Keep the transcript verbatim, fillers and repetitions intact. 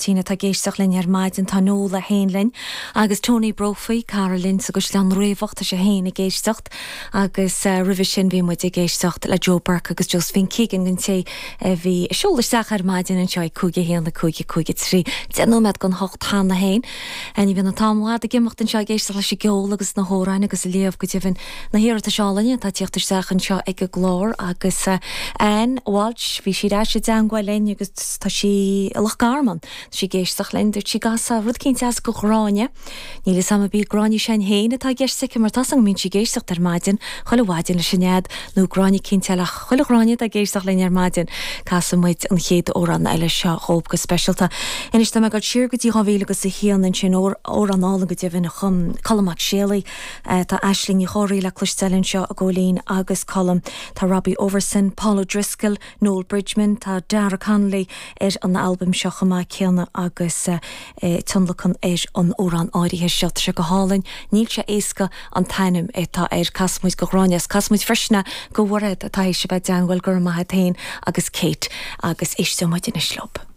Máirtín atá ag éisteacht linn ar maidin tá Nola féin linn agus Tony Brophy cara linn sa gCaisleán Riabhach tá sé féin ag éisteacht agus uh, roimhe sin bhí muid ag éisteacht le Joe Burke agus Josephine Keegan don té a bhí ag seoladh isteach ar maidin anseo cúig a haon a cúig a cúig a trí. Deich nóiméad don hocht cheana féin. Ní bhíonn an t-am i bhfad ag imeacht anseo ag éisteacht leis an gceol agus na hamhráin agus ag léamh go deimhin na hiarratais álainne atá ag teacht isteach anseo ag an gclár agus uh, Anne Walsh bhí sí i dteagmháil linn agus tá sí i Loch Garman sí ag éisteacht linn dúirt sí gasa rud éicint as go Gráinne. Níl sam a bí Gráinne sin féin atá i gceist aici mar tá an mín sí ag éisteacht ar maidin chuile mhaidin leis an nead nó Gráinne cinnte ach chuile Ghráinne ag éisteacht linn ar maidin casfaidh muid an chéad amhrán eile seo dhóibh go speisialta. Anois tá mé ag dul siar go dtí dhá mhíle agus a haon ansin amhrán álainn go deimhin a chum Colm Mac Séalaigh tá Aisling Ní Chomhraí le cloisteáil anseo a Góilín agus Colm tá Robbie Overson, Paul O'Driscoll, Noel Bridgman, tá Dara Connolly ar an albam seo chomh maith céanna agus uh, tionlacan ar an amhrán áirithe seo sé go hálainn, níl sé éasca an t-ainm atá air casfaidh muid go Gráinne, casfaidh muid freisin go bhfuair atá sé bheith deanhfuil gur maithe tain agus Kate agus éisteoidh muid anois leo.